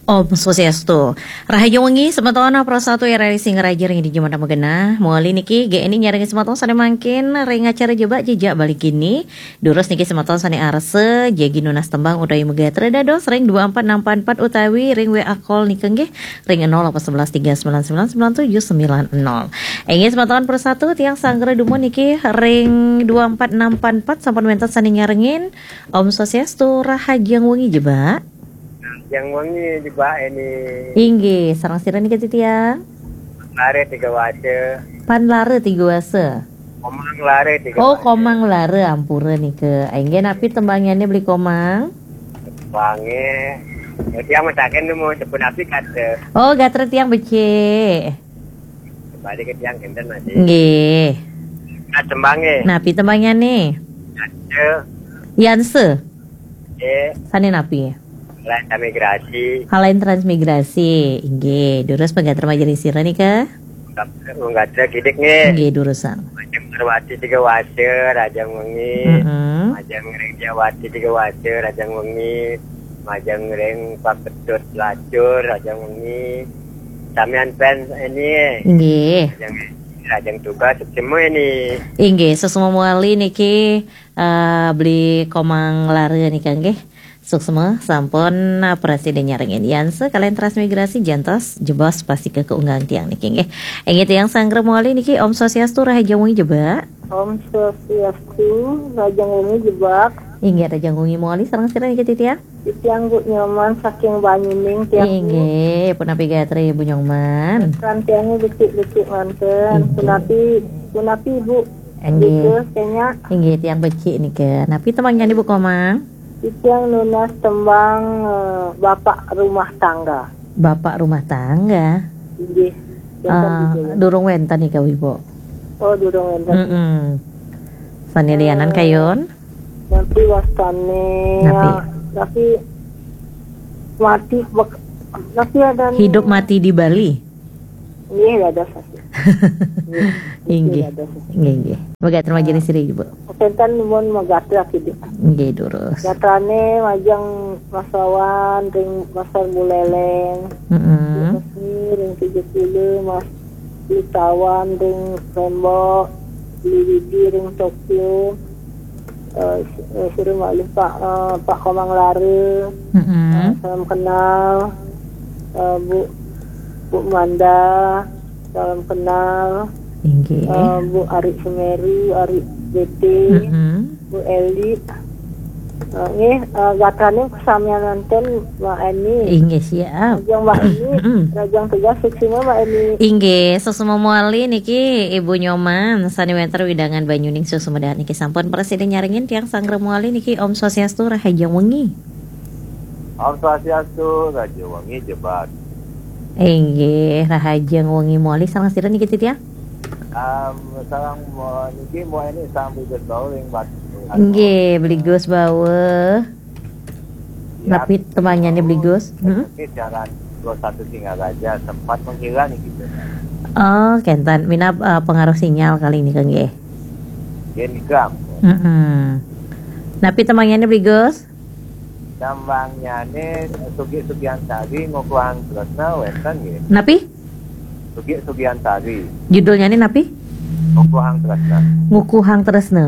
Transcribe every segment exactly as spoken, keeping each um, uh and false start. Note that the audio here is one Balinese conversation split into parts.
Om Swastiastu. Rahajeng wengi semeton Pro Satu R R I Singaraja ring Dija Mata Magenah. Mawali niki G N I nyarengin semeton sane mangkin ring acara Jebak Jejak Bali Geni. Durus niki semeton sane arsa jagi nunas tembang utawi magatra dados ring dua empat enam empat empat utawi ring W A call nika nggih ring nol delapan sebelas tiga sembilan sembilan sembilan tujuh sembilan nol. Inggih semeton Pro Satu tiang sanggra dumun niki ring dua empat enam empat empat sampun wenten sane nyarengin. Om Swastiastu, rahajeng wengi Jebak. Yang wengi Jebak ini. Inggih, sareng sira nika titiang? Lare Tiga Wasa. Pan Lare Tiga Wasa. Komang Lare Tiga Oh, Wasa. Komang Lare, ampura nika. Inggih, napi tembangyane Beli Komang? Tembange. Ya, tiang masaken nemu sepun api kata. Oh, gatra tiang becik. Kembali ke tiang kenten masih. Nggih. Nah, tembange. Napi tembangyane? Yanse. Yanse. Nggih. Sane napi? Lain transmigrasi. Halain transmigrasi. Inggih, durus panggater majeng sira nika. Panggater kidik nggih. Nggih, durusang. Majeng Parwati Tiga Wasa, rahajeng wengi. Mm-mm. Majeng ring Jawati Tiga Wasa, rahajeng wengi. Majeng ring Pak Ketut Lacur, rahajeng wengi. Samian pen ini. Nggih. Rahajeng, rahajeng tugas semua ini. Inggih, suksma mawali niki, eh, Beli Komang Lare nika nggih. Suksma sampun, eh, prasida nyarengin Yanse kalian transmigrasi jantos jebos pastika kaunggang tiang niki nggih. Inggih tiang sanggra mawali niki Om Swastiastu, rahajeng wengi Jebak. Om Swastiastu, rahajeng wengi Jebak. Inggih, rahajeng wengi mawali sareng sira niki titiang? Titiang Bu Nyoman saking Banyuning tiang, Bu. Inggih, punapi gatra Ibu Nyoman? Kan tiangnya becik-becik manten. Inggih. Punapi, punapi Bu. Inggih. Gitu, kayaknya. Inggih, tiang becik nika. Napi tembangyane Bu Komang? Titiang nunas tembang, eh, Bapak Rumah Tangga. Bapak Rumah Tangga? Inggih. Wenten Ah, gitu ya. Durung wenten nika, Ibu. Oh, durung wenten. Mm-mm. Sane lianan Eh, kayun? Napi wastane, Napi? Ya, tapi mati bek-, tapi ada Hidup mati di Bali. Nggih, dados. Nggih, Inggih. Dados. Nggih, nggih. Mega terima jenis siri, Ibu. Wenten nuwun magatra kidik. Nggih, durus. Gatrane majeng Mas Wawan ring Pasar Buleleng. Mm-mm. Ring tujuh puluh Mas Witawan ring Lombok, Beli Widi ring Tokyo, eh, eh, suruh malih Pak, eh, Pak Komang Lare, Mm-mm. eh, salam kenal, eh, Bu, Bu Manda, salam kenal, Inggih. Eh, Bu Ari Semeru, Ari B T, Mm-mm. Bu Eli, eh, nggih, eh, gatrane samian manten Mbak Eni. Inggih, siap. Rahajeng Mbak Eni, Mm-mm. Rahajeng tugas suksma Mbak Eni. Inggih, suksma mawali niki Ibu Nyoman, sane wenten wewidangan Banyuning suksma dahat niki sampun prasida nyarengin tiang sanggra mawali niki Om Swastiastu, rahajeng wengi. Om Swastiastu, rahajeng wengi Jebak. Inggih, rahajeng wengi mawali sareng sira niki titiang? Am, sareng mo-, niki Mbok Eni sareng Beli Gus Baur ring Batu. Nggih, Beli Gus Baur. Ya. Napi tembangyane Beli Gus? Hmm? Ini siaran Pro Satu Singaraja sempat menghilang gitu. Oh, kenten. Minab, eh, pengaruh sinyal kali ini, nggih. Nggih, nika. Mm-mm. Napi tembangyane, Beli Gus? Tembangyane Sugi Sugiantari, Ngukuhang Tresna, wenten nggih. Napi? Sugi Sugiantari. Judulnyane napi? Ngukuhang Tresna. Ngukuhang Tresna.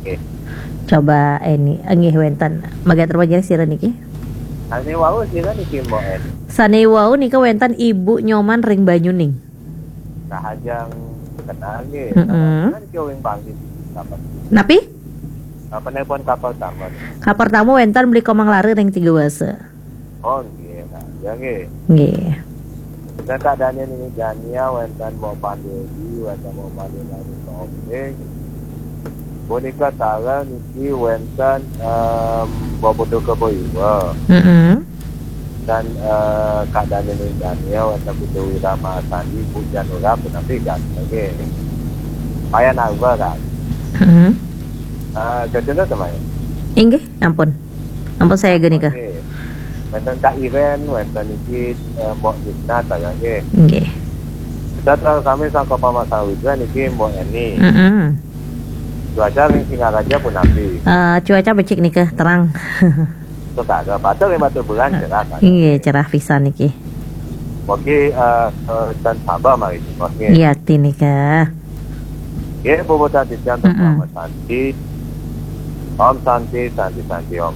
Nggih. Coba, eh, ini, eh, nggih, wenten. Mega terima jenis sira niki? Sane wau sira niki, Mbok Eni? Sane wau nika wenten Ibu Nyoman ring Banyuning. Rahajeng kenal nggih. Mm-mm. Kan kio ring Bangli. Napi? Apa nelpon kapal taman? Kapal tamu wenten Beli Komang Lare ring Tiga Wasa. Oh, nggih, nah, ya, nggih. Nggih. Dan Kak Daniel ini Dania, wenten Mbok Pandedi, wenten Mbok Pandedi, Mbok Omping. Bonika Tara niki wenten, em, Mbok Putu Kebo Iwa. Mm-mm. Dan, eh, Kak Daniel ini Dania, wenten Putu Wira Masandi, Bu Janura, punapi kan. Oke. Payan Alba kan. Mm-mm. Eh, Jajuna sama ya? Inggih, ampun. Ampun saya geni ke. Oke. Wenten Kak Iren, wenten niki, eh, Mbok Nisna, saya nggih. Nggih. Kita terus kami sangka Pama Sawitra niki Mbok Eni. Mm-mm. Cuaca ring Singaraja punapi? Eh, cuaca becik nika, terang. Terus ada batal yang batal bulan cerah kan. Iya, cerah pisan niki. Oke, eh, eh, dan sabar mari. Oke. Iya, tinika. Ya, bobo tadi jam Mm-mm. Santi. Om Santi, Santi, Santi, Om.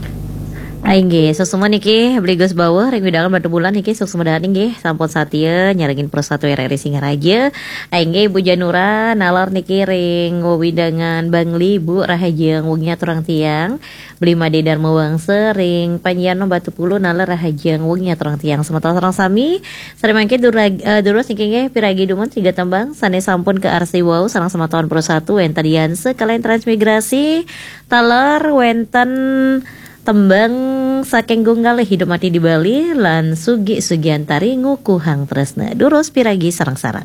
Inggih, suksma niki Bli Gus Bawuh ring wewidangan Batubulan niki suksma dahat inggih sampun satia nyarengin Pro satu R R I Singaraja. Inggih Ibu Janura nalar niki ring wewidangan Bangli, Bu, rahajeng wengi aturang tiang. Bli Made Dharma Wangsa ring Panjiano Batupulu nalar rahajeng wengi aturang tiang. Semeton sareng sami, sare mangke durag-, eh, durus niki nggih piragi dumun tiga tembang sane sampun kaarsi wau sareng semeton Pro satu wenten Dianse kalian Transmigrasi. Taler wenten tembang saking Gung Galih Hidup Mati di Bali lan Sugi Sugiantari Ngukuhang Tresna. Durus piragi sareng-sareng.